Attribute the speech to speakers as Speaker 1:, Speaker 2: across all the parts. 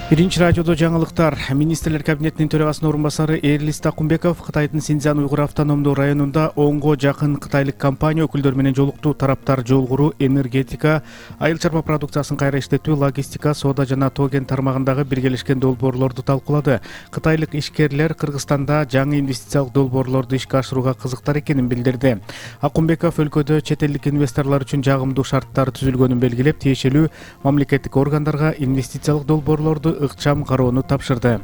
Speaker 1: Биринчи радиодо жаңылыктар. Министрлер кабинетинин төрагасынын орун басары Эрлис Такумбеков Кытайдын Синьцзян уйгур автономдуу районунда 10го жакын кытайлык компания өкүлдөрү менен жолукту. Тараптар жол куруу, энергетика, айыл чарба продукциясын кайра иштетүү, логистика, соода жана тоген тармагындагы биргелешкен долбоорлорду талкуулады. Кытайлык ишкерлер Кыргызстанда жаңы инвестициялык долбоорлорду ишке ашырууга кызыктар экенин билдирди. Акумбеков өлкөдө чет элдик инвесторлор үчүн жагымдуу шарттар түзүлгөнүн белгилеп, тиешелүү мамлекеттик органдарга инвестициялык долбоорлорду ыкчам кароону тапшырды.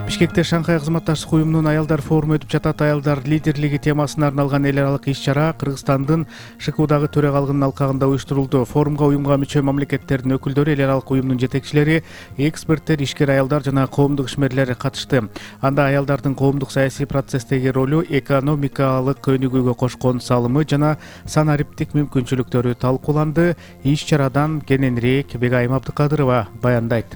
Speaker 1: Бишкекте Шанхай кызматташтык уюмунун аялдар форуму өтүп жатат. Аялдар лидерлиги темасына арналган эл аралык иш-чара Кыргызстандын ШКУдагы төрагалыгынын алкагында уюштурулду. Форумга уюмга мүчө мамлекеттердин өкүлдөрү, эл аралык уюмдун жетекчилери, эксперттер, ишкер аялдар жана коомдук ишмерлер катышты. Анда аялдардын коомдук саясий процесстеги ролу, экономикалык өнүгүүгө кошкон салымы жана санариптик мүмкүнчүлүктөрү талкууланды. Иш-чарадан кененирээк Бегайым Абдыкадырова баяндайт.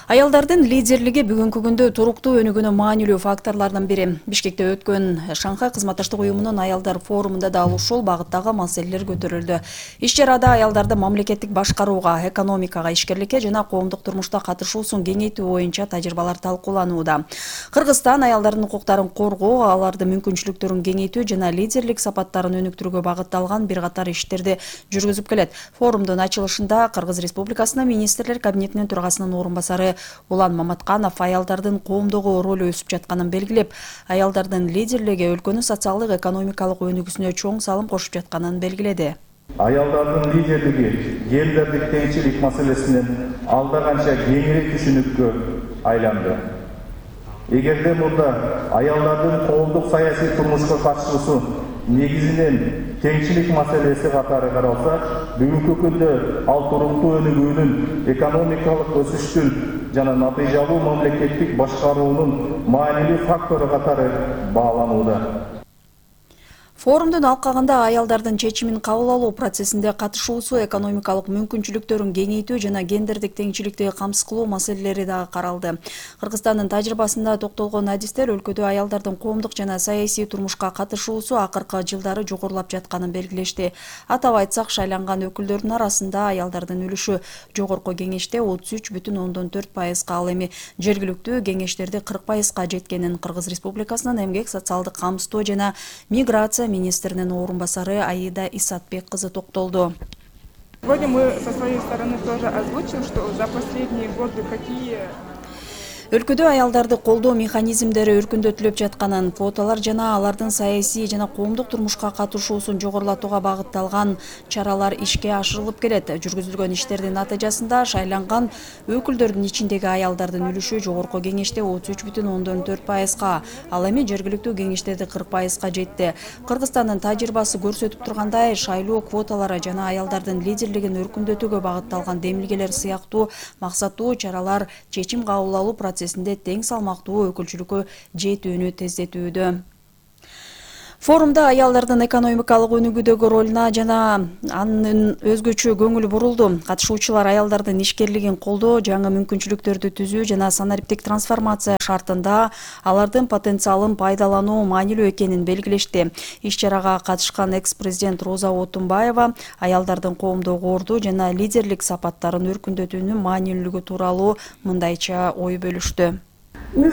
Speaker 2: Аялдардын лидерлиги бүгүнкү күндө туруктуу өнүгүүнүн маанилүү факторлорунун бири. Бишкекте өткөн Шанхай кызматташтык уюмунун аялдар форумунда да ушул багыттагы маселелер көтөрүлдү. Иш-чарада аялдарды мамлекеттик башкарууга, экономикага, ишкерликке жана коомдук турмушта катышуусун кеңейтүү боюнча тажрыйбалар талкууланууда. Кыргызстан аялдардын укуктарын коргоо, алардын мүмкүнчүлүктөрүн кеңейтүү жана лидерлик сапаттарын өнүктүрүүгө багытталган бир катар иштерди жүргүзүп келет. Форумдун ачылышында Кыргыз Республикасынын Министрлер кабинетинин төрагасынын орун басары Улан Маматканов аялдардын коомдогу ролу өсүп жатканын белгилеп, аялдардын лидерлиги өлкөнүн социалдык экономикалык өнүгүүсүнө чоң салым кошуп жатканын белгиледи.
Speaker 3: Аялдардын лидерлиги гендердик теңчилик маселесинен алда канча кеңирээк түшүнүккө айланды. Эгерде мурда аялдардын коомдук саясий турмушка катышуусу негизинен теңчилик маселеси катары каралса, бүгүнкү күндө ал туруктуу өнүгүүнүн, экономикалык өсүштүн жана натыйжалуу мамлекеттик башкаруунун маанилүү фактору катары бааланууда.
Speaker 2: Форумдун алкагында аялдардын чечимин кабыл алуу процессинде катышуусу, экономикалык мүмкүнчүлүктөрүн кеңейтүү жана гендердик теңчиликти камсыз кылуу маселелери дагы каралды. Кыргызстандын тажрыйбасында токтолгон адистер өлкөдө аялдардын коомдук жана саясий турмушка катышуусу акыркы жылдары жогорулап жатканын белгилешти. Атап айтсак, шайланган өкүлдөрдүн арасында аялдардын үлүшү жогорку кеңеште 33,4%, ал эми жергиликтүү кеңештерде 40%га жеткенин Кыргыз Республикасынын эмгек, социалдык камсыздоо жана миграция министринин орун басары Аида Исатбек кызы токтолду.
Speaker 4: Сегодня мы со своей стороны тоже озвучим, что за последние годы какие
Speaker 2: Өлкөдө аялдарды колдоо механизмдери өркүндөтүлүп жатканын, квоталар жана алардын саясий жана коомдук турмушка катышуусун жогорулатууга багытталган чаралар ишке ашырылып келет. Жүргүзүлгөн иштердин натыйжасында шайланган өкүлдөрдүн ичиндеги аялдардын үлүшү жогорку кеңеште 33,4%, ал эми жергиликтүү кеңештерде 40%га жетти. Кыргызстандын тажрыйбасы көрсөтүп тургандай, шайлоо квоталары жана аялдардын лидерлигин өркүндөтүүгө багытталган демилгелер сыяктуу максаттуу чаралар чечим кабыл алуу процессинде тең салмактуу өкүлчүлүккө жетүүнү тездетүүдө. Форумда аялдардын экономикалык өнүгүүдөгү ролуна жана анын өзгөчө көңүл бурулду. Катышуучулар аялдардын ишкерлигин колдоо, жаңы мүмкүнчүлүктөрдү түзүү жана санариптик трансформация шартында алардын потенциалын пайдалануу маанилүү экенин белгилешти. Иш-чарага катышкан экс-президент Роза Отунбаева аялдардын коомдогу орду жана лидерлик сапаттарын өркүндөтүүнүн маанилүүлүгү тууралуу мындайча ой бөлүштү.
Speaker 5: Эл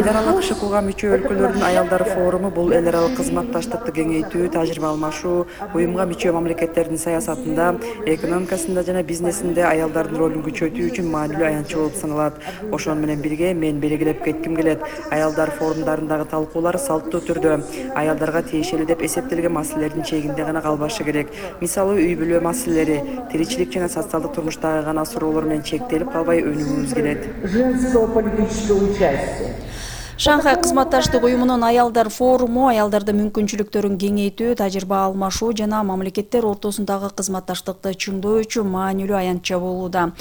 Speaker 5: аралык ШКУга мүчө өлкөлөрдүн аялдар форуму бул эл аралык кызматташтыкты кеңейтүү, тажрыйба алмашуу, уюмга мүчө мамлекеттердин саясатында, экономикасында жана бизнесинде аялдардын ролун күчөтүү үчүн маанилүү аянтчы болуп саналат. Ошону менен бирге мен белгилеп кетким келет. Аялдар форумдарындагы талкуулар салттуу түрдө аялдарга тиешелүү деп эсептелген маселелердин чегинде гана калбашы керек. Мисалы, үй бүлө маселелери, тиричилик жана социалдык турмуштагы гана суроолор менен чектелип калбай өнүгүүбүз келет.
Speaker 2: Шанхай кызматташтык уюмунун аялдар форуму аялдардын мүмкүнчүлүктөрүн кеңейтүү, тажрыйба алмашуу жана мамлекеттер ортосундагы кызматташтыкты чыңдоо үчүн маанилүү аянтча болууда.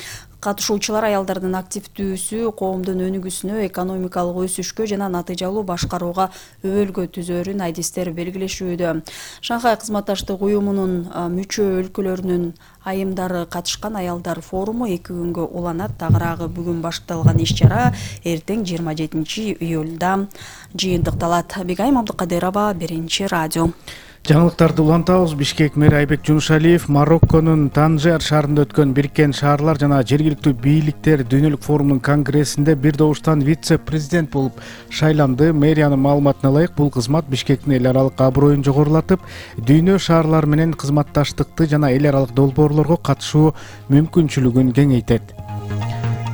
Speaker 2: Катышуучулар аялдардын активдүүсү коомдун өнүгүүсүнө, экономикалык өсүшкө жана натыйжалуу башкарууга өбөлгө түзөрүн адистер белгилешүүдө. Шанхай кызматташтык уюмунун мүчө өлкөлөрүнүн айымдары катышкан аялдар форуму 2 күнгө уланат. Тагыраагы бүгүн башталган иш-чара эртең 27 июлда жыйынтыкталат. Бегайым Абдыкадырова, Биринчи радио.
Speaker 1: Жаңылыктарды улантабыз. Бишкек мэри Айбек Жунушалиев Марокконун Танжер шаарында өткөн Бириккен шаарлар жана жергиликтүү бийликтер дүйнөлүк форумунун конгрессинде бир добуштан вице-президент болуп шайланды. Мэриянын маалыматына ылайык, бул кызмат Бишкектин эл аралык аброюн жогорулатып, дүйнө шаарлар менен кызматташтыкты жана эл аралык долбоорлорго катышуу мүмкүнчүлүгүн кеңейтет.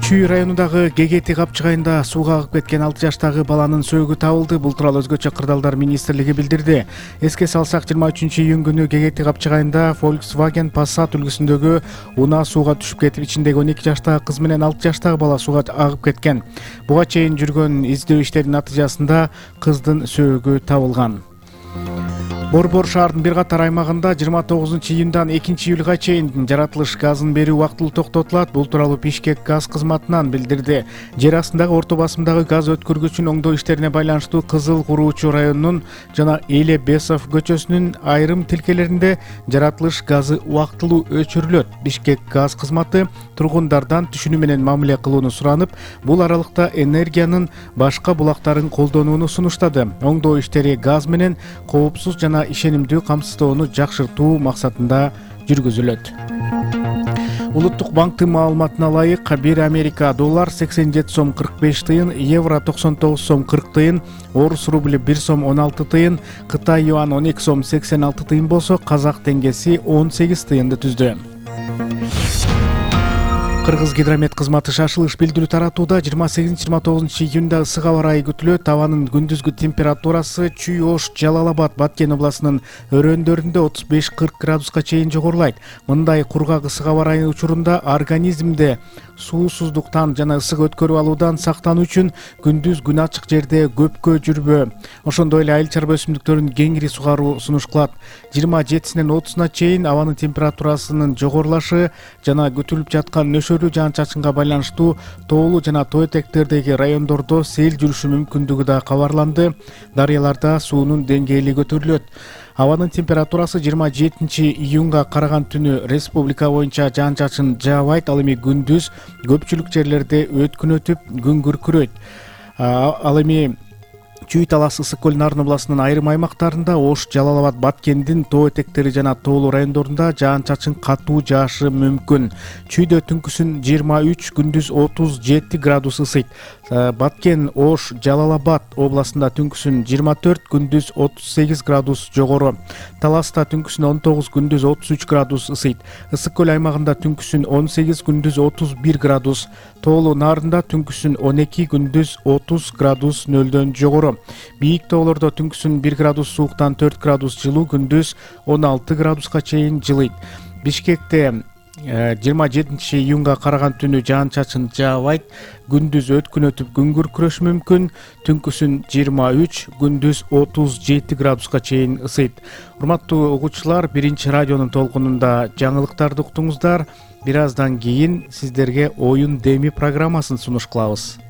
Speaker 1: Чүй районундагы Гегети капчыгайында сууга агып кеткен 6 жаштагы баланын сөөгү табылды. Бул тууралуу Өзгөчө кырдаалдар министрлиги билдирди. Эске салсак, 23-июнь күнү Гегети капчыгайында Volkswagen Passat үлгүсүндөгү унаа сууга түшүп кетип, ичиндеги 12 жаштагы кыз менен 6 жаштагы бала сууга агып кеткен. Буга чейин жүргөн издөө иштеринин натыйжасында кыздын сөөгү табылган. Борбор шаардын бир катар аймагында 29-июндан 2-июлга чейин жаратылыш газын берүү убактылуу токтотулат. Бул тууралуу Бишкек газ кызматынан билдирди. Жер астындагы орто басымдагы газ өткөргүчүн оңдоо иштерине байланыштуу Кызыл Куруучу районунун жана Эле Бесов көчөсүнүн айрым тилкелеринде жаратылыш газы убактылуу өчүрүлөт. Бишкек газ кызматы тургундардан түшүнүү менен мамиле кылууну суранып, бул аралыкта энергиянын башка булактарын колдонууну сунуштады. Оңдоо иштери газ менен коопсуз жана ишенимдүү камсыздоону жакшыртуу максатында жүргүзүлөт. Улуттук банктын маалыматына ылайык, 1 Америка доллар 87 сом 45 тыйын, евро 99 сом 40 тыйын, орус рубли 1 сом 16 тыйын, Кытай юан 12 сом 86 тыйын болсо, казак теңгеси 18 тыйынды түздү. Кыргыз гидромет кызматы шашылыш билдирүү таратууда. 28-29 июнда ысык аба ырайы күтүлөт. Абанын күндүзгү температурасы Чүй, Ош, Жалал-Абад, Баткен областынын өрөөндөрүндө 35-40 градуска чейин жогорулайт. Мындай кургак ысык аба ырайы учурунда организмде суусуздуктан жана ысык өткөрүп алуудан сактануу үчүн күндүз күн ачык жерде көпкө жүрбө. Ошондой эле айыл чарба өсүмдүктөрүн кеңири сугаруу сунуш кылат. 27-синен 30-на чейин абанын температурасынын жогорулашы жана күтүлүп жаткан нөшөрлүү жаан-чачынга байланыштуу тоолуу жана тоо этектердеги райондордо сел жүрүшү мүмкүндүгү да кабарланды. Дарыяларда суунун деңгээли көтөрүлөт. Абанын температурасы 27-июнга караган түнү республика боюнча жаан-чачын жаабайт. Ал эми күндүз көпчүлүк жерлерде өткүн өтүп, күн күркүрөйт. Ал эми Чүй, Талас, Ысык көл, Нарын областынын айрым аймактарында, Ош, Жалал-Абад, Баткендин тоо этектери жана тоолуу райондорунда жаан-чачын катуу жаашы мүмкүн. Чүйдө түнкүсүн 23, күндүз 37 градус ысыйт. Баткен, Ош, Жалал-Абад областында түнкүсүн 24, күндүз 38 градус жогору. Таласта түнкүсүн 19, күндүз 33 градус ысыйт. Ысык көл аймагында түнкүсүн 18, күндүз 31 градус. Тоолуу Нарында түнкүсүн 12, күндүз 30 градус нөлдөн жогору. Бийик тоолордо түнкүсүн 1 градус сууктан 4 градус жылуу, күндүз 16 градуска чейин жылыйт. Бишкекте 27-июнга караган түнү жаан-чачын жаабайт. Күндүз өткүн өтүп, күн күркүрөшү мүмкүн. Түнкүсүн 23, күндүз 37 градуска чейин ысыйт. Урматтуу угуучулар, Биринчи радионун толкунунда жаңылыктарды уктуңуздар. Бир аздан кийин сиздерге Оюн Деми программасын сунуш кылабыз.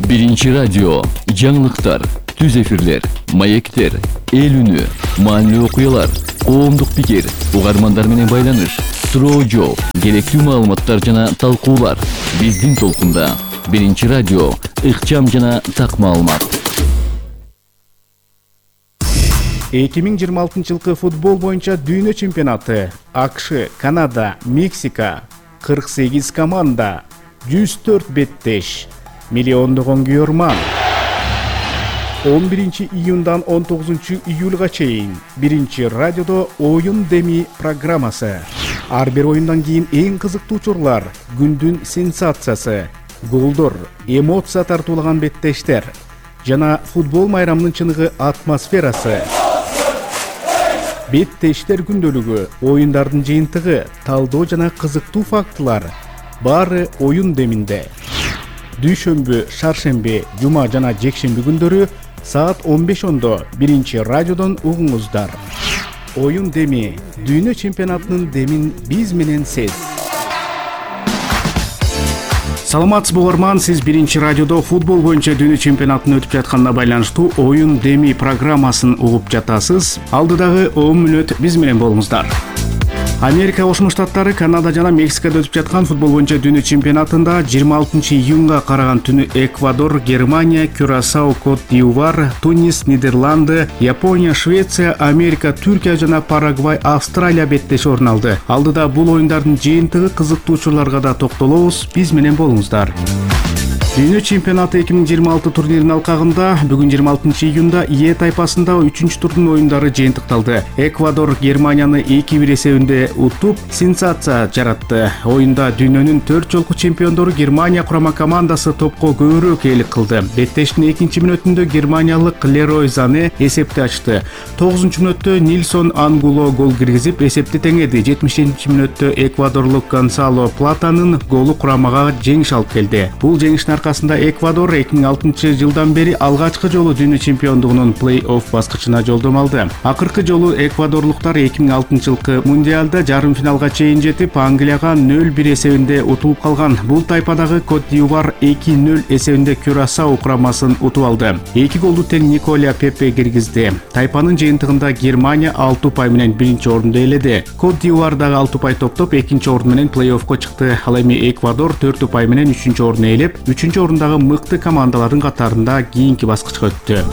Speaker 6: Биринчи радио, жаңылыктар, түз эфирлер, маектер, эл үнү, маанилүү окуялар, коомдук пикир, угармандар менен байланыш, суроо жооп, керектүү маалыматтар жана талкуулар. Биздин толкунда Биринчи радио, ыкчам жана так маалымат.
Speaker 1: 2026 жылкы футбол боюнча дүйнө чемпионаты. АКШ, Канада, Мексика, 48 команда, 104 беттеш, миллиондогон күйөрман. 11-июндан 19-июлга чейин Биринчи радиодо Оюн Деми программасы. Ар бир оюндан кийин эң кызыктуу учурлар, күндүн сенсациясы, голдор, эмоция тартуулаган беттештер жана футбол майрамынын чыныгы атмосферасы. Беттештер күндөлүгү, оюндардын жыйынтыгы, талдоо жана кызыктуу фактылар баары Оюн Деминде. Дүйшөмбү, шаршемби, жума жана жекшемби күндөрү саат 15:00 Биринчи радиодон угуңуздар. Оюн Деми, дүйнө чемпионатынын демин биз менен сез. Саламатсызбы угарман, сиз Биринчи радиодо футбол боюнча дүйнө чемпионатынын өтүп жатканына байланыштуу Оюн Деми программасын угуп жатасыз. Алдыдагы 10 мүнөт биз менен болуңуздар. Америка Кошмо Штаттары Канада жана Мексикада өтүп жаткан футбол боюнча дүйнө чемпионатында 26 июнга караган түнү Эквадор, Германия, Кюрасао, Кот-д'Ивуар, Тунис, Нидерланды, Япония, Швеция, Америка, Түркия жана Парагвай, Австралия беттеши орун алды. Алдыда бул оюндардын жыйынтыгы кызыктуу учурларга да токтолобуз. Биз менен болуңуздар. Дүйнө чемпионаты 2026 турниринин алкагында бүгүн 26 июнда Е тайпасында 3-чү турдун оюндары жыйынтыкталды. Эквадор Германияны 2-1 эсебинде утуп, сенсация жаратты. Оюнда дүйнөнүн 4 жолку чемпиондору Германия курама командасы топко көбүрөөк ээлик кылды. Беттештин 2-нчи мүнөтүндө германиялык Лерой Зане эсепти ачты. 9-чу мүнөттө Нильсон Ангуло гол киргизип, эсепти теңеди. 70-чи мүнөттө эквадорлук Гонсало Платанын голу курамага жеңиш алып келди. Бул жеңиштин аркасында Эквадор 2006 жылдан бери алгачкы жолу дүйнө чемпиондугунун плей-офф баскычына жолдом алды. Акыркы жолу эквадорлуктар 2006 жылкы мундиалда жарым финалга чейин жетип, Англияга 0-1 эсебинде утулуп калган. Бул тайпадагы Кот-д'Ивуар 2-0 эсебинде Кюрасао курамасын утуп алды. 2 голду тең Николя Пепе киргизди. Тайпанын жыйынтыгында Германия 6 упай менен 1-чи орунду ээледи. Кот-д'Ивуар дагы 6 упай топтоп 2-чи орун менен плей-оффко чыкты. Ал эми Эквадор 4 упай менен 3-чү орунду ээлеп, 3-чү орундагы мыкты командалардын катарында кийинки баскычка өттү.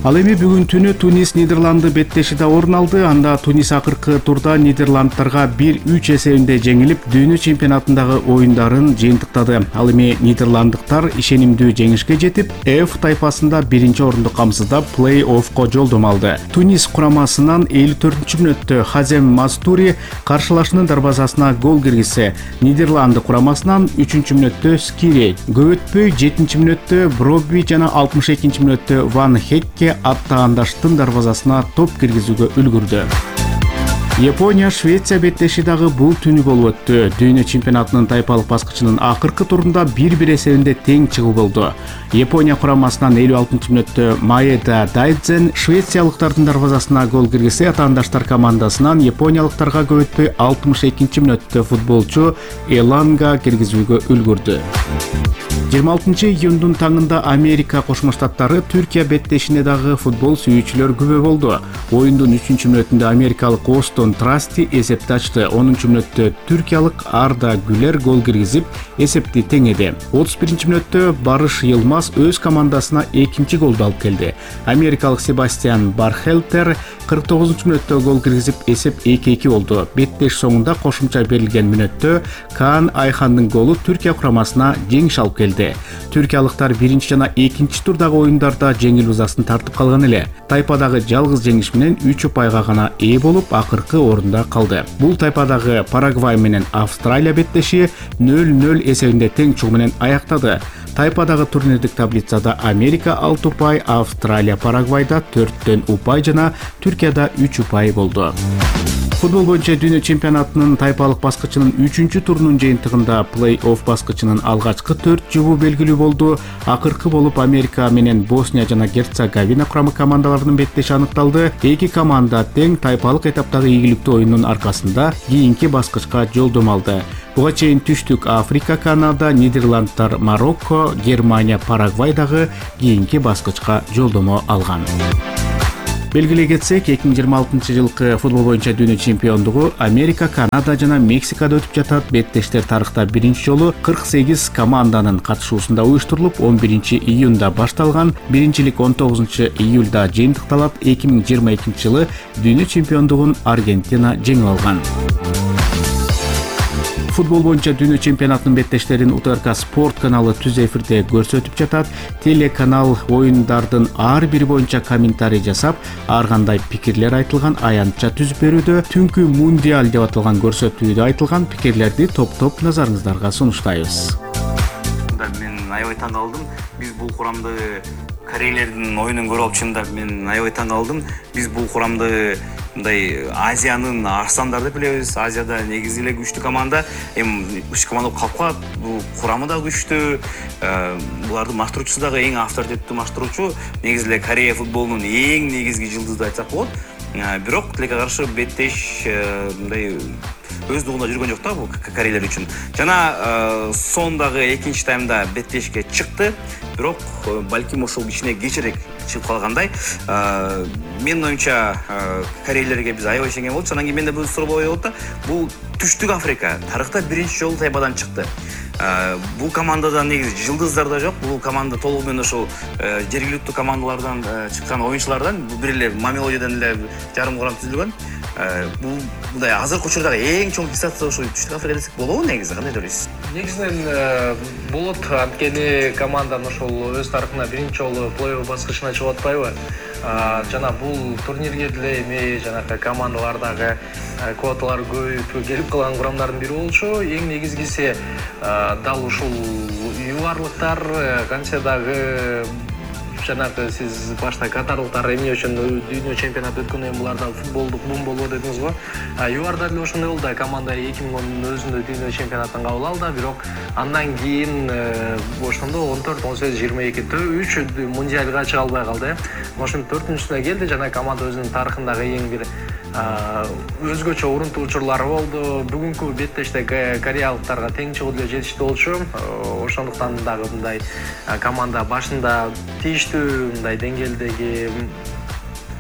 Speaker 1: Ал эми бүгүн түнү Тунис Нидерланды беттешиде орун алды. Анда Тунис акыркы турда Нидерландтарга 1-3 эсебинде жеңилип, дүйнө чемпионатындагы оюндарын жыйынтыктады. Ал эми нидерланддыктар ишенимдүү жеңишке жетип, F тайпасында 1-чи орунду камсыздап, плей-оффко жолдом алды. Тунис курамасынан 54-чү мүнөттө Хазем Мастури каршылашынын дарбазасына гол киргизсе, Нидерланды курамасынан 3-чү мүнөттө Скири, көп өтпөй 7-чи мүнөттө Броби жана 62-чи мүнөттө Ван Хекке аттаандаштын дарбазасына топ киргизүүгө үлгүрдү. Япония Швеция беттеши дагы бул түнү болуп өттү. Дүйнө чемпионатынын тайпалык баскычынын акыркы турунда 1-1 эсебинде тең чыгуу болду. Япония курамасынан 56-чы мүнөттө Маэда Дайдзен швециялыктардын дарбазасына гол киргизсе, атаандаштар командасынан япониялыктарга көп өтпөй 62-чи мүнөттө футболчу Эланга киргизүүгө үлгүрдү. 26 июндун таңында Америка Кошмо Штаттары Түркия беттешине дагы футбол сүйүүчүлөр күбө болду. Оюндун 3-чү мүнөтүндө америкалык Остон Трасти эсепти ачты. 10-чу мүнөттө түркиялык Арда Гүлер гол киргизип, эсепти теңеди. 31-чи мүнөттө Барыш Йылмаз өз командасына 2-чи голду алып келди. Америкалык Себастьян Бархелтер 49-чу мүнөттө гол киргизип, эсеп 2-2 болду. Беттеш соңунда кошумча берилген мүнөттө Каан Айхандын голу Түркия курамасына жеңиш алып келди. Түркиялыктар 1-чи жана 2-чи турдагы оюндарда жеңил узасын тартып калган эле. Тайпадагы жалгыз жеңиш менен 3 упайга гана ээ болуп, акыркы орунда калды. Бул тайпадагы Парагвай менен Австралия беттеши 0-0 эсебинде тең чыгуу менен аяктады. Тайпадагы турнирдик таблицада Америка 6 упай, Австралия Парагвайда 4төн упай жана Түркияда 3 упай болду. Футбол боюнча дүйнө чемпионатынын тайпалык баскычынын 3-чү турунун жыйынтыгында плей-офф баскычынын алгачкы 4 жыбуу белгилүү болду. Акыркы болуп Америка менен Босния жана Герцеговина курама командаларынын беттеши аныкталды. Эки команда тең тайпалык этаптагы ийгиликтүү оюнунун аркасында кийинки баскычка жолдом алды. Буга чейин Түштүк Африка, Канада, Нидерландтар, Марокко, Германия, Парагвай дагы кийинки баскычка жолдомо алган. Белгилей кетсек, 2026 жылкы футбол боюнча дүйнө чемпиондугу Америка, Канада жана Мексикада өтүп жатат. Беттештер тарыхта 1-чи жолу 48 команданын катышуусунда уюштурулуп, 11 июнда башталган. Биринчилик 19 июлда жыйынтыкталат. 2022 жылы дүйнө чемпиондугун Аргентина жеңип алган. Футбол боюнча дүйнө чемпионатынын беттештерин УТРК спорт каналы түз эфирде көрсөтүп жатат. Телеканал оюндардын ар бири боюнча комментарий жасап, ар кандай пикирлер айтылган аянтча түзүп берүүдө. Түнкү мундиаль деп аталган көрсөтүүдө айтылган пикирлерди топ-топ назарыңыздарга сунуштайбыз.
Speaker 7: Мен аябай таң калдым. Биз бул курамды корейлердин оюнун көрүп алып, чындап мен аябай таң калдым. Биз бул курамды мындай Азиянын арстандары деп билебиз. Азияда негизи эле күчтүү команда, эми күчтүү команда болуп калып калат. Бул курамы да күчтүү. Булардын маштыруучусу дагы эң авторитеттүү маштыруучу. Негизи эле Корея футболунун эң негизги жылдызы айтсак болот. Бирок тилекке каршы беттеш мындай өз дугунда жүргөн жок да бул корейлер үчүн. Жана сондагы экинчи таймда беттешке чыкты, бирок балким ошол кичине кечирээк чыгып калгандай. Менин оюмча корейлерге биз аябай ишенген болчу. Анан кийин менде бул суроо болот да, бул Түштүк Африка тарыхта биринчи жолу тайпадан чыкты. Бул командада негизи жылдыздар да жок. Бул команда толугу менен ошол жергиликтүү командалардан чыккан оюнчулардан, бир эле Мамелодиядан эле жарым курам түзүлгөн. Бул мындай азыркы учурдагы эң чоң дистанция ошол Түштүк Африка десек болобу негизи? Кандай ойлойсуз?
Speaker 8: Негизинен болот, анткени команданын ошол өз тарыхында биринчи жолу плей-офф баскычына чыгып атпайбы? Жана бул турнирге деле эми жанакы командалардагы квоталар көбөйүп келип калган курамдардын бири болчу. Эң негизгиси дал ушул югарлыктар канча дагы жанагы сиз башта катарлыктар эмне үчүн дүйнө чемпионаты өткөндөн кийин буларда футболдук бум болбу дедиңиз го. ЮАРда деле ошондой болду да, команда 2010 өзүндө дүйнө чемпионатын кабыл алды, бирок андан кийин ошондо 14, 18, 22 3 мундиалга чыга албай калды. Ошонун 4-сүнө келди жана команда өзүнүн тарыхындагы эң бир өзгөчө урунтуу учурлары болду. Бүгүнкү беттеште кореялыктарга тең чыгуу деле жетиштүү болчу. Ошондуктан дагы мындай команда башында тийиштүү мындай деңгээлдеги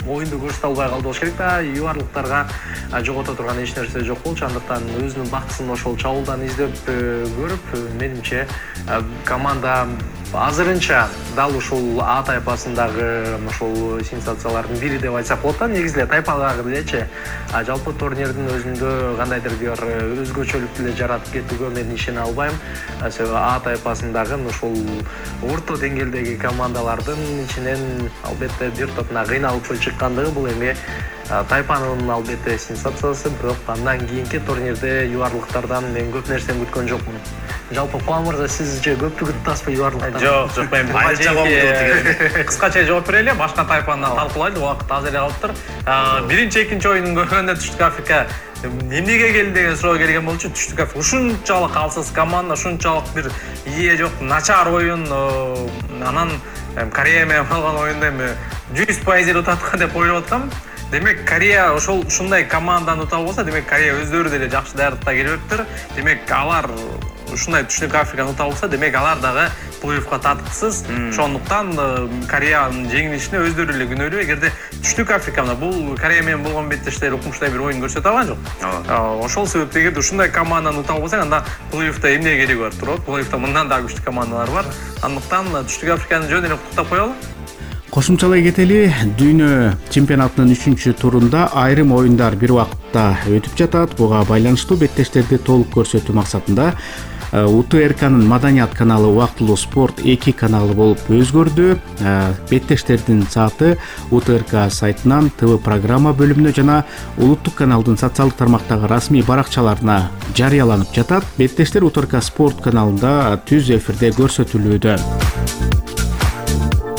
Speaker 8: оюнду көрсөтө албай калды болуш керек да. ЮАРлыктарга жогото турган эч нерсе жок болчу. Андыктан өзүнүн бактысын ошол чабуулдан издеп көрүп, менимче команда азырынча дал ушул А тайпасындагы ошол сенсациялардын бири деп айтсак болот да. Негизи эле тайпадагы делечи жалпы турнирдин өзүндө кандайдыр бир өзгөчөлүк деле жаратып кетүүгө мен ишене албайм. Себеби А тайпасындагы ошол орто деңгээлдеги командалардын ичинен албетте бир топуна кыйналып чыккандыгы бул эми тайпанын албетте сенсациясы. Бирок андан кийинки турнирде ЮАРлыктардан мен көп нерсени күткөн жокмун. Жалпы Кубан мырза, сиз же көптүгүн таспай ЮАРлыктардан?
Speaker 7: Жок, мен
Speaker 8: кыскача жооп берели, башка тайпаны талкуулайлы, убакыт аз эле калыптыр. Биринчи, экинчи оюнун көргөндө Түштүк Африка эмнеге келди деген суроо келген болчу. Түштүк Африка ушунчалык алсыз команда, ушунчалык бир ие жок, начар оюн, анан Корея менен болгон оюнда эми 100% утаткан деп ойлоп аткам. Демек Корея ушундай команданы утап болсо, демек Корея өздөрү деле жакшы даярдыкта келиптир. Демек алар ушундай Түштүк Африканы утап болсо, демек алар дагы плей-оффко татыксыз. Ошондуктан Кореянын жеңилишине өздөрү эле күнөөлүү. Эгерде Түштүк Африкада бул Корея менен болгон беттештер укмуштай бир оюн көрсөтө алган жок. Ошол себептен эгерде ушундай команданы утап болсоң, анда плей-оффто эмне кереги бар турат? Плей-оффто мындан дагы күчтүү командалар бар. Андыктан Түштүк Африканы жөн эле куттуктап коелу.
Speaker 1: Кошумчалай кетели, дүйнө чемпионатынын 3-турунда айрым оюндар бир убакытта өтүп жатат. Буга байланыштуу беттештерди толук көрсөтүү максатында УТРКнын Маданият каналы Убактылуу спорт 2 каналы болуп өзгөрдү. Беттештердин сааты УТРК сайтынан ТВ программа бөлүмүнө жана улуттук каналдын социалдык тармактагы расмий баракчаларына жарыяланып жатат. Беттештер УТРК спорт каналында түз эфирде көрсөтүлүүдө.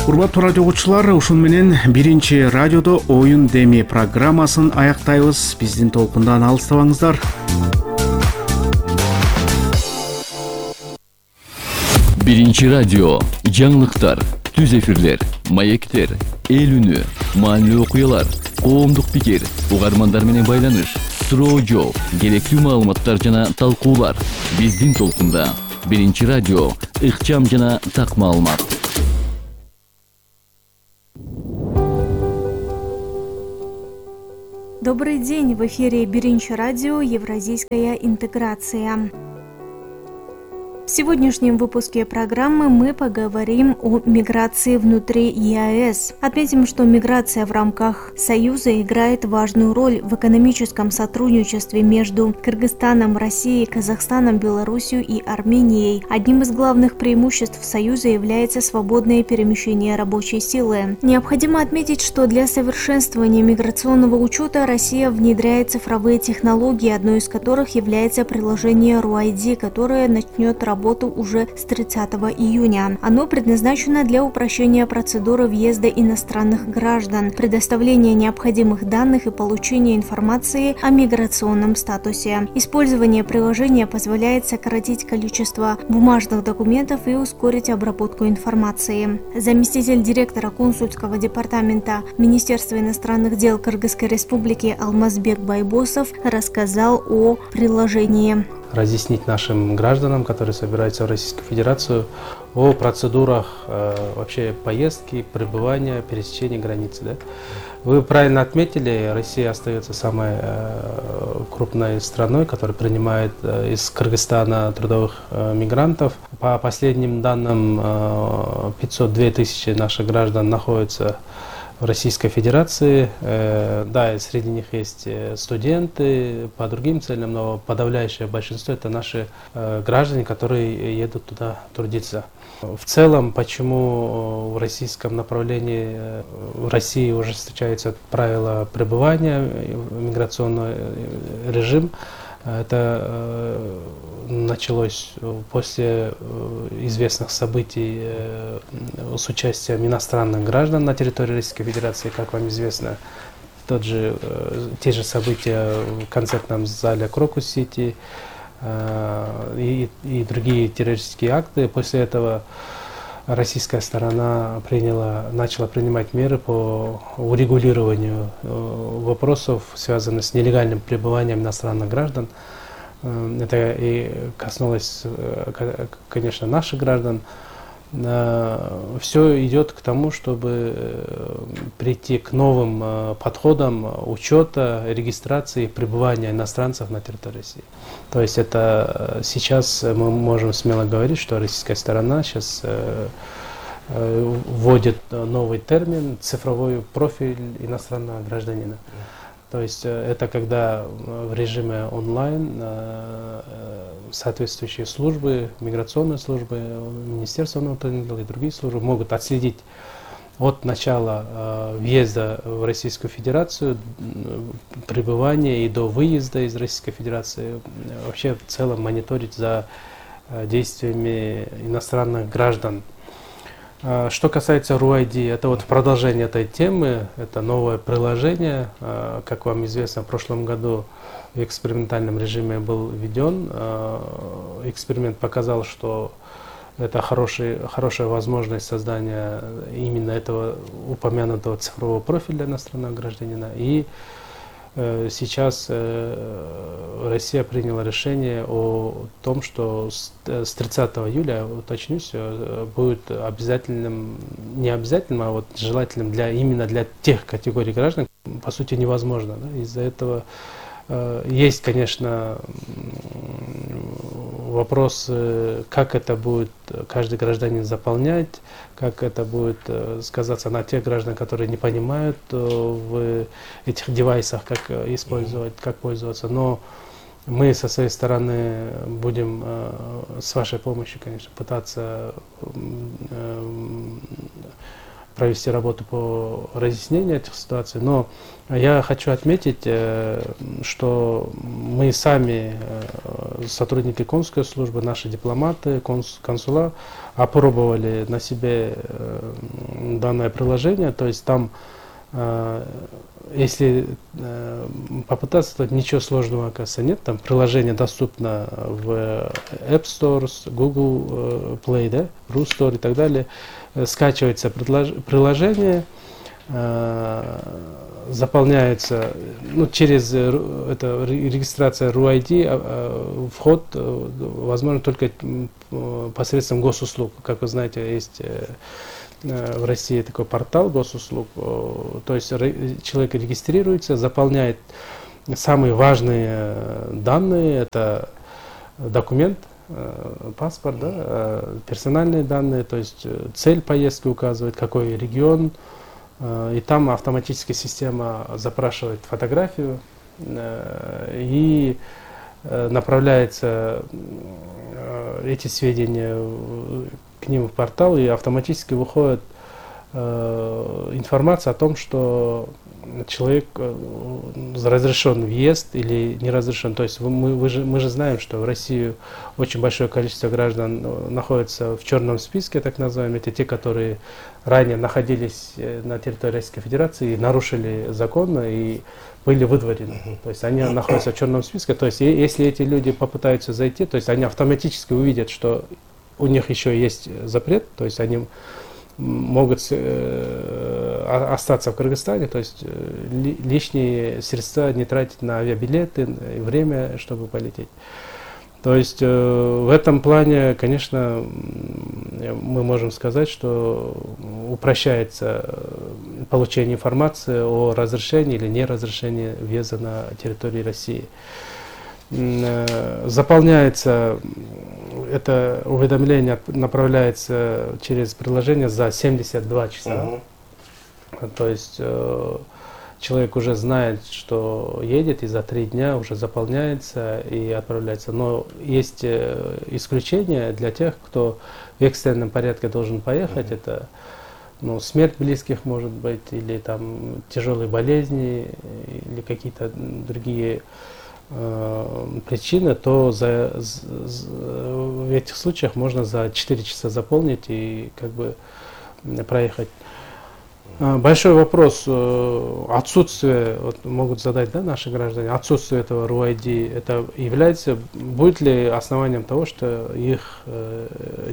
Speaker 1: Урматтуу радио угуучулар, ушун менен биринчи радиодо оюн деми программасын аяктайбыз. Биздин толкундан алыстабаңыздар.
Speaker 6: Биринчи радио, жаңылыктар, түз эфирлер, маектер, эл үнү, маанилүү окуялар, коомдук пикир, угармандар менен байланыш, суроо жооп, керектүү маалыматтар жана талкуулар. Биздин толкунда. Биринчи радио, ыкчам жана так маалымат.
Speaker 9: Добрый день, в эфире Биринчи радио «Евразийская интеграция». В сегодняшнем выпуске программы мы поговорим о миграции внутри ЕАЭС. Отметим, что миграция в рамках Союза играет важную роль в экономическом сотрудничестве между Кыргызстаном, Россией, Казахстаном, Белоруссией и Арменией. Одним из главных преимуществ Союза является свободное перемещение рабочей силы. Необходимо отметить, что для совершенствования миграционного учета Россия внедряет цифровые технологии, одной из которых является приложение RUID, которое начнет работать работу уже с 30 июня. Оно предназначено для упрощения процедуры въезда иностранных граждан, предоставления необходимых данных и получения информации о миграционном статусе. Использование приложения позволяет сократить количество бумажных документов и ускорить обработку информации. Заместитель директора консульского департамента Министерства иностранных дел Кыргызской Республики Алмазбек Байбосов рассказал о приложении.
Speaker 10: Разъяснить нашим гражданам, которые собираются в Российскую Федерацию, о процедурах вообще поездки, пребывания, пересечения границы. Да? Вы правильно отметили, Россия остается самой крупной страной, которая принимает из Кыргызстана трудовых мигрантов. По последним данным, 502 тысячи наших граждан находятся в Российской Федерации. Да, среди них есть студенты по другим целям, но подавляющее большинство это наши граждане, которые едут туда трудиться. В целом, почему в российском направлении в России уже встречаются правила пребывания, миграционный режим, это началось после известных событий с участием иностранных граждан на территории Российской Федерации, как вам известно, те же события в концертном зале Крокус-Сити и другие террористические акты. После этого российская сторона начала принимать меры по урегулированию вопросов, связанных с нелегальным пребыванием иностранных граждан. Это и коснулось, конечно, наших граждан. Все идет к тому, чтобы прийти к новым подходам учета, регистрации, пребывания иностранцев на территории России. То есть это сейчас мы можем смело говорить, что российская сторона сейчас вводит новый термин «цифровой профиль иностранного гражданина». То есть это когда в режиме онлайн соответствующие службы, миграционные службы, Министерство внутренних дел и другие службы могут отследить от начала въезда в Российскую Федерацию, пребывания и до выезда из Российской Федерации, вообще в целом мониторить за действиями иностранных граждан. Что касается RUID, это вот продолжение этой темы, это новое приложение. Как вам известно, в прошлом году в экспериментальном режиме был введен. Эксперимент показал, что это хорошая возможность создания именно этого упомянутого цифрового профиля иностранного гражданина. И сейчас Россия приняла решение о том, что с 30 июля, уточнюсь, будет обязательным, не обязательным, а вот желательным именно для тех категорий граждан, по сути, невозможно. Да? Из-за этого есть, конечно, вопрос, как это будет каждый гражданин заполнять, как это будет сказаться на тех граждан, которые не понимают в этих девайсах, как использовать, как пользоваться. Но мы со своей стороны будем с вашей помощью, конечно, пытаться провести работу по разъяснению этих ситуаций. Но я хочу отметить, что мы сами, сотрудники консульской службы, наши дипломаты, консула, опробовали на себе данное приложение. То есть там, если попытаться, то ничего сложного, оказывается, нет. Там приложение доступно в App Store, Google Play, да, Ru Store и так далее. Скачивается приложение, заполняется через регистрация RUID, вход возможно только посредством госуслуг. Как вы знаете, есть в России такой портал госуслуг. То есть человек регистрируется, заполняет самые важные данные, это документ, паспорт, да, персональные данные, то есть цель поездки указывает, какой регион, и там автоматически система запрашивает фотографию и направляется эти сведения к ним в портал, и автоматически выходит информация о том, что человек разрешен въезд или не разрешен. То есть мы же знаем, что в Россию очень большое количество граждан находится в черном списке, так называемые. Это те, которые ранее находились на территории Российской Федерации и нарушили закон и были выдворены. То есть они находятся в черном списке. То есть если эти люди попытаются зайти, то есть они автоматически увидят, что у них еще есть запрет, то есть они могут остаться в Кыргызстане, то есть лишние средства не тратить на авиабилеты, время, чтобы полететь. То есть в этом плане, конечно, мы можем сказать, что упрощается получение информации о разрешении или неразрешении въезда на территорию России. Заполняется это уведомление, направляется через приложение за 72 часа. То есть человек уже знает, что едет, и за 3 дня уже заполняется и отправляется. Но есть исключения для тех, кто в экстренном порядке должен поехать. Это смерть близких, может быть, или там тяжелые болезни, или какие-то другие причины, то в этих случаях можно за 4 часа заполнить и как бы проехать. Большой вопрос отсутствие, вот могут задать, да, наши граждане, отсутствие этого РУ-ID, это является, будет ли основанием того, что их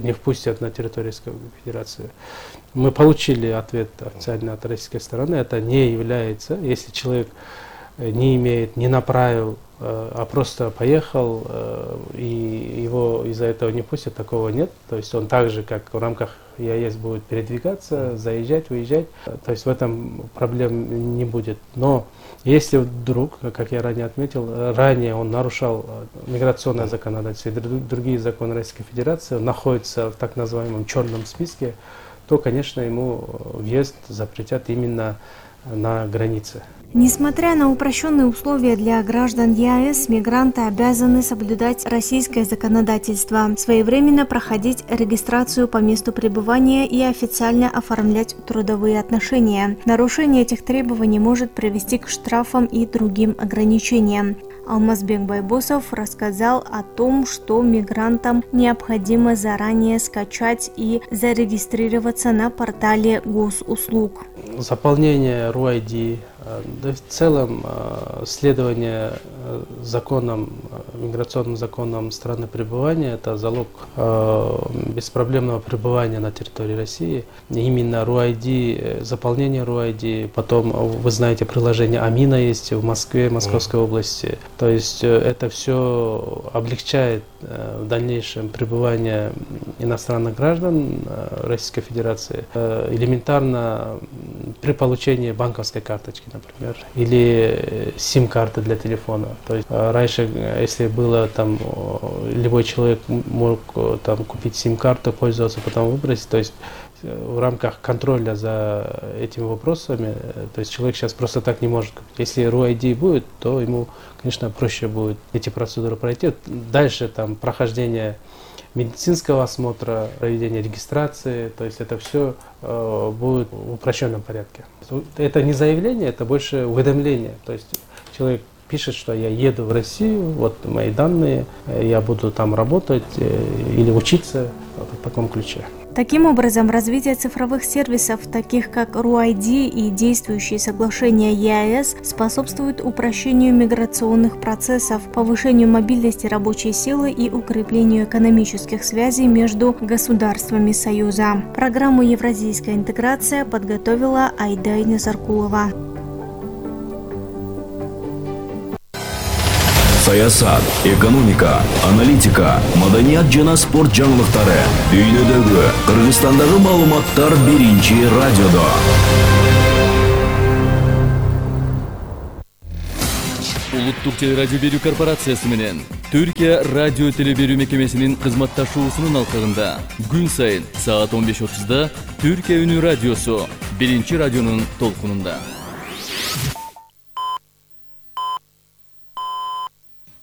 Speaker 10: не впустят на территорию Российской Федерации? Мы получили ответ официально от российской стороны, это не является, если человек не имеет, не направил, а просто поехал, и его из-за этого не пустят, такого нет. То есть он так же, как в рамках ЕАЭС, будет передвигаться, заезжать, выезжать. То есть в этом проблем не будет. Но если вдруг, как я ранее отметил, ранее он нарушал миграционное законодательство и другие законы Российской Федерации, он находится в так называемом черном списке, то, конечно, ему въезд запретят именно на границе.
Speaker 9: Несмотря на упрощенные условия для граждан ЕАЭС, мигранты обязаны соблюдать российское законодательство, своевременно проходить регистрацию по месту пребывания и официально оформлять трудовые отношения. Нарушение этих требований может привести к штрафам и другим ограничениям. Алмазбек Байбосов рассказал о том, что мигрантам необходимо заранее скачать и зарегистрироваться на портале госуслуг.
Speaker 10: Заполнение РУ-ID, да, в целом следование законам, миграционным законам страны пребывания – это залог беспроблемного пребывания на территории России. Именно РУ-ID, заполнение РУ-ID, потом, вы знаете, приложение Амина есть в Москве, Московской области. То есть это все облегчает в дальнейшем пребывание иностранных граждан Российской Федерации. Элементарно при получении банковской карточки, например, или сим-карты для телефона. То есть раньше, если было там, любой человек мог там купить сим-карту, пользоваться, потом выбросить, то есть в рамках контроля за этими вопросами, то есть человек сейчас просто так не может купить. Если РУ-ID будет, то ему, конечно, проще будет эти процедуры пройти. Дальше там прохождение медицинского осмотра, проведение регистрации, то есть это все будет в упрощенном порядке. Это не заявление, это больше уведомление. То есть человек пишет, что я еду в Россию, вот мои данные, я буду там работать или учиться, вот в таком ключе.
Speaker 9: Таким образом, развитие цифровых сервисов, таких как РУ-ID и действующие соглашения ЕАЭС, способствует упрощению миграционных процессов, повышению мобильности рабочей силы и укреплению экономических связей между государствами Союза. Программу «Евразийская интеграция» подготовила Айдай Назаркулова.
Speaker 6: Саясат, экономика, аналитика, маданият жана спорт жаңылыктары. Дүйнөдөгү, Кыргызстандагы маалыматтар биринчи радиодо. Улуттук телерадио берүү корпорациясы менен Түркия радио телеберүү мекемесинин кызматташуусунун алкагында күн сайын саат 15:30 Түркия үнү радиосу биринчи радионун толкунунда.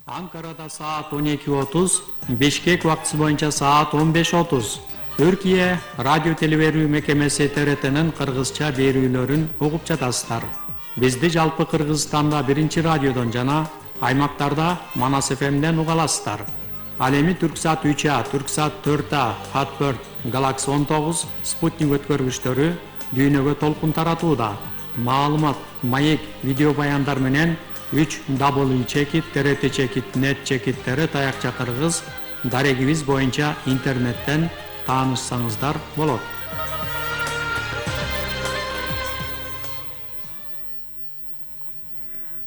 Speaker 11: Анкарада саат 12:30, Бишкек убактысы боюнча саат 15:30. Түркия радио телеберүү мекемеси ТРТнын кыргызча берүүлөрүн угуп жатасыздар. Бизди жалпы Кыргызстанда 1-радиодон жана аймактарда Манас ФМден уга аласыздар. Ал эми Түрксат 3А, Түрксат 4А, Хат4, Галакси 19, Спутник өткөргүчтөрү дүйнөгө толкун таратууда. Маалымат, маек, видео баяндар менен 3W-чекит, TRT-чекит, net-чекиттери таякча кыргыз дарегибиз боюнча интернеттен таанышсаңыздар болот.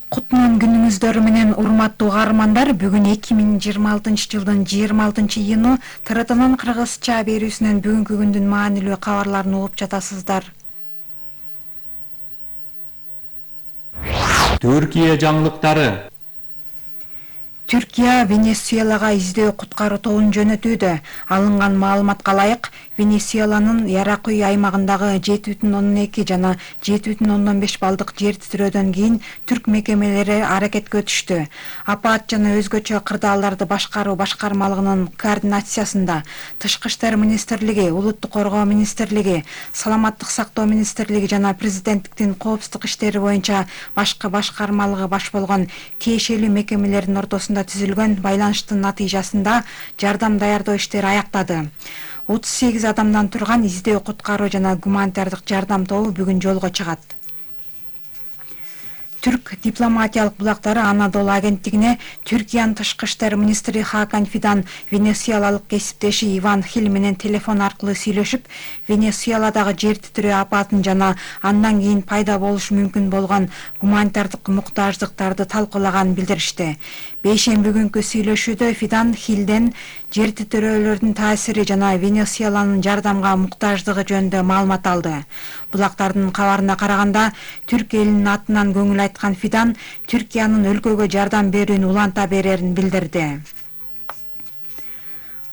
Speaker 12: Кутман күнүңүздөр менен урматтуу угармандар, бүгүн 2026 жылдын 26-июну ТРТнын кыргызча берүүсүнөн бүгүнкү күндүн маанилүү кабарларын угуп жатасыздар.
Speaker 11: Түркия жаңылыктары.
Speaker 12: Түркия Венесуэлага издөө куткаруу тобун жөнөтүүдө. Алынган маалыматка ылайык, Венесуэланын Яракуй аймагындагы 7,2 жана 7,5 балдык жер титирөөдөн кийин түрк мекемелери аракетке өтүштү. Апаат жана өзгөчө кырдаалдарды башкаруу башкармалыгынын координациясында Тышкы иштер министрлиги, Улуттук коргоо министрлиги, Саламаттык сактоо министрлиги жана президенттиктин коопсуздук иштери боюнча башкы башкармалыгы баш болгон тиешелүү мекемелердин ортосунда түзүлгөн байланыштын натыйжасында жардам даярдоо иштери аяктады. 38 адамдан турган издөө куткаруу жана гуманитардык жардам тобу бүгүн жолго чыгат. Түрк дипломатиялык булактары Анадолу агенттигине Түркиянын тышкы иштер министри Хакан Фидан венесуэлалык кесиптеши Иван Хил менен телефон аркылуу сүйлөшүп, Венесуэладагы жер титирөө апатын жана андан кийин пайда болушу мүмкүн болгон гуманитардык муктаждыктарды талкуулаганын билдиришти. Бейшемби күнкү сүйлөшүүдө Фидан Хилден жер титирөөлөрдүн таасири жана Венесуэланын жардамга муктаждыгы жөнүндө маалымат алды. Булактардын кабарына караганда, Түрк элинин атынан көңүл айткан Фидан Түркиянын өлкөгө жардам берүүнү уланта берерин билдирди.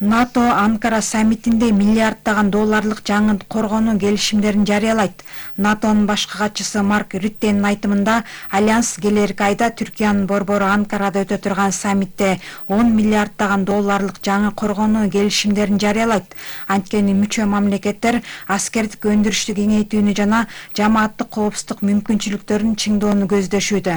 Speaker 12: НАТО Анкара саммитинде миллиарддаган долларлык жаңы коргонуу келишимдерин жарыялайт. НАТОнун башкы катчысы Марк Рюттенин айтымында, Альянс келерки айда Түркиянын борбору Анкарада өтө турган саммитте 10 миллиарддаган долларлык жаңы коргонуу келишимдерин жарыялайт. Анткени мүчө мамлекеттер аскердик өндүрүштү кеңейтүүнү жана жамааттык коопсуздук мүмкүнчүлүктөрүн чыңдоону көздөшүүдө.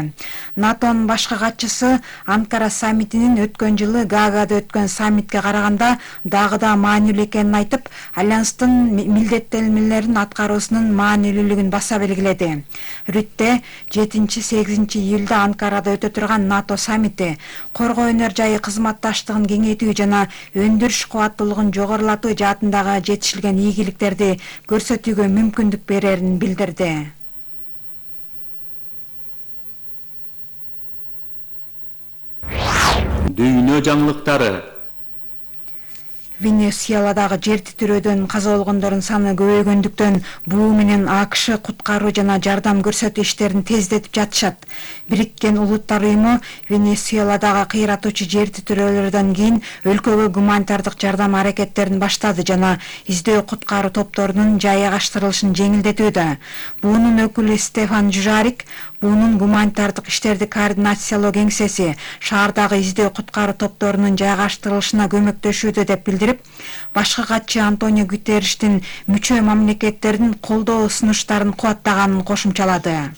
Speaker 12: НАТОнун башкы катчысы Анкара саммитинин өткөн жылы Гаагада өткөн саммитке караганда дагы да маанилүү экенин айтып, Альянстын милдеттенмелерин аткаруусунун маанилүүлүгүн баса белгиледи. Рютте 7-8 июлда Анкарада өтө турган НАТО саммити коргоо өнөр жайы кызматташтыгын кеңейтүү жана өндүрүш кубаттуулугун жогорулатуу жаатындагы жетишилген ийгиликтерди көрсөтүүгө мүмкүндүк берерин билдирди.
Speaker 11: Дүйнө жаңылыктары.
Speaker 12: Венесуэладагы жер титирөөдөн каза болгондордун саны көбөйгөндүктөн буу менен АКШ куткаруу жана жардам көрсөтүү иштерин тездетип жатышат. Бириккен Улуттар уюму Венесуэладагы кыйратуучу жер титирөөлөрдөн кийин өлкөгө гуманитардык жардам аракеттерин баштады жана издөө куткаруу топторунун жайгаштырылышын жеңилдетүүдө. Буунун өкүлү Стефан Жужарик буунун гуманитардык иштерди координациялоо кеңсеси шаардагы издөө куткаруу топторунун жайгаштырылышына көмөктөшүүдө деп билдирип, башкы катчы Антонио Гутерриштин мүчө мамлекеттердин колдоо сунуштарын кубаттаганын кошумчалады.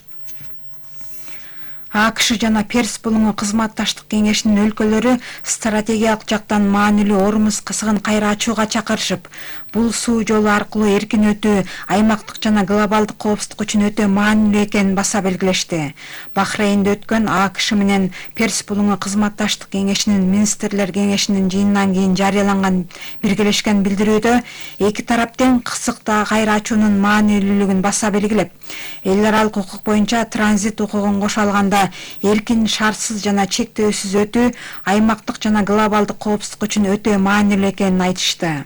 Speaker 12: АКШ жана Перс булуңу кызматташтык кеңешинин өлкөлөрү стратегиялык жактан маанилүү Ормуз кысыгын кайра ачууга чакырышып, бул суу жолу аркылуу эркин өтүү аймактык жана глобалдык коопсуздук үчүн өтө маанилүү экенин баса белгилешти. Бахрейнде өткөн АКШ менен Перс булуңу кызматташтык кеңешинин министрлер кеңешинин жыйынынан кийин жарыяланган биргелешкен билдирүүдө эки тараптын кысыкта кайра ачуунун маанилүүлүгүн баса белгилеп, эл аралык укук боюнча транзит укугун кошо алганда эркин, шартсыз жана чектөөсүз өтүү аймактык жана глобалдык коопсуздук үчүн өтө маанилүү экенин айтышты.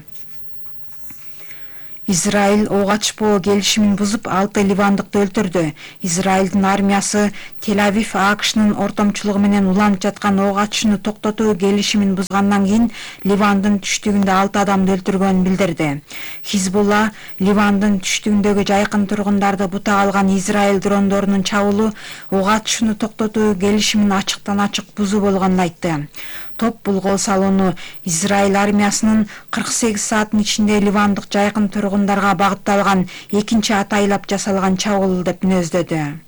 Speaker 12: Израиль ок ачпоо келишимин бузуп 6 ливандыкты өлтүрдү. Израилдин армиясы Тель-Авив АКШнын ортомчулугу менен уланып жаткан ок ачууну токтотуу келишимин бузгандан кийин Ливандын түштүгүндө 6 адамды өлтүргөнүн билдирди. Хизбулла Ливандын түштүгүндөгү жайкын тургундарды бутак алган Израиль дрондорунун чабуулу ок ачууну токтотуу келишимин ачыктан ачык бузуу болгонун айтты. Топ бул кол салууну Израиль армиясынын 48 сааттын ичинде ливандык жайкын тургундарга багытталган экинчи атайлап жасалган чабуул деп мүнөздөдү.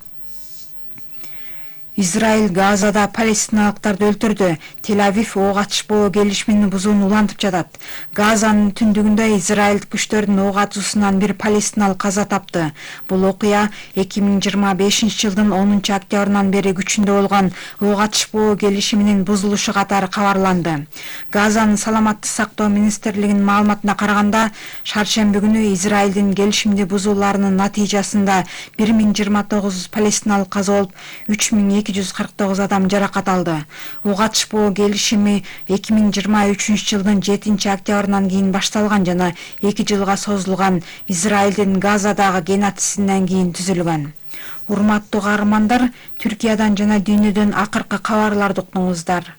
Speaker 12: Израиль Газада палестиналыктарды өлтүрдү. Тель-Авив ок атышпоо келишимин бузууну улантып жатат. Газанын түндүгүндө Израиль күчтөрүнүн ок атуусунан бир палестиналык каза тапты. Бул окуя 2025-жылдын 10-октябрынан бери күчүндө болгон ок атышпоо келишиминин бузулушу катары кабарланды. Газанын саламаттык сактоо министрлигинин маалыматына караганда, шаршемби күнү Израилдин келишимди бузууларынын натыйжасында 1029 палестиналык каза болуп, 3249 адам жаракат алды. Ок атышпоо келишими 2023-жылдын 7-октябрынан кийин башталган жана 2 жылга созулган Израилдин Газадагы геноцидинен кийин түзүлгөн. Урматтуу каармандар, Түркиядан жана дүйнөдөн акыркы кабарларды уктуңуздар.